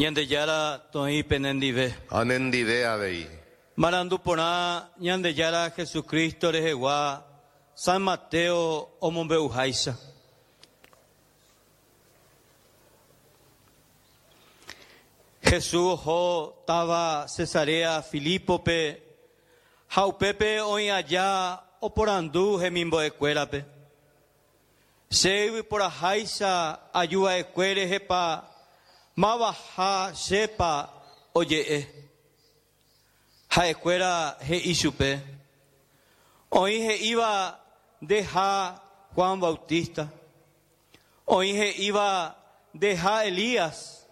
Ñandejára toĩ penendive. Ha nendive avei. Marandu porã Ñandejára Jesucristo rehegua San Mateo omombe'uháicha. Jesús oho táva Cesarea Filípope ha upépe oĩ aja oporandu hemimbo'ekuérape. Che yvyporaháicha aju va'ekue rehepa mavaha chépa oje'e. Ha'ekuéra he'i chupe, Oĩ he'íva ndeha Juan Bautista, oĩ he'íva ndeha Elías,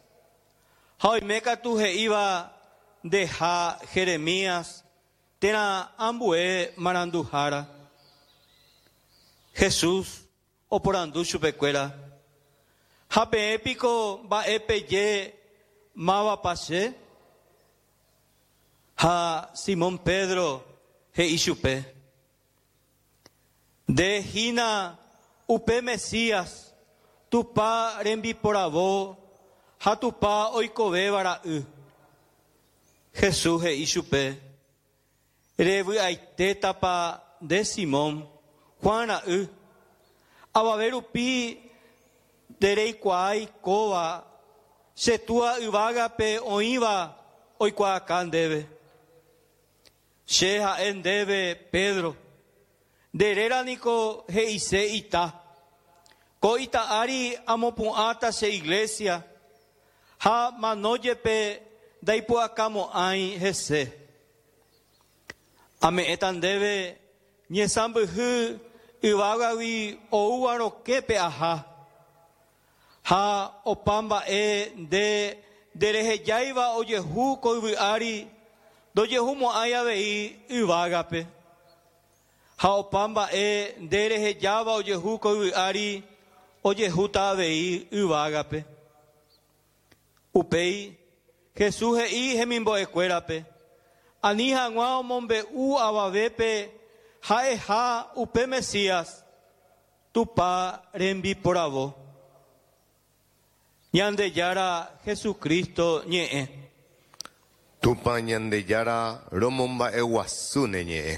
ha oime katu he'íva ndeha Jeremías térã ambue maranduhára. Jesús oporandu chupekuéra, Ha peẽ piko mba'e peje mávapa che? Ha Simón Pedro he'i chupe, Nde hína upe Mesías, Tupã rembiporavo ha Tupã oikovéva ra'y. Jesús he'i chupe, Revy'aitétapa nde Simón, Juan ra'y, avave rupi ndereikuaái kóva che Túa yvágape oĩva oikuaaka ndéve. Che ha'e ndéve Pedro, nde réra niko he'ise ita. Ko ita ári amopu'ãta che iglésia, ha mano jepe ndaipu'akamo'ãi hese. Ame'ẽta ndéve ñesãmbyhy yvágagui oúva rokẽpe aha, ha opa mba'e nde nderehejáiva ojehu ko yvy ári ndojehumo'ãi avei yvágape. Ha opa mba'e nde rehejáva ojehu ko yvy ári ojehúta avei yvágape. Upéi, Jesús he'i hemimbo'ekuérape, ani hag̃ua omombe'u avavépe ha'eha upe Mesías, Tupã rembiporavo. Ñandejára Jesucristo ñe'ẽ. Tupã Ñandejára romomba'eguasu ne ñe'ẽ.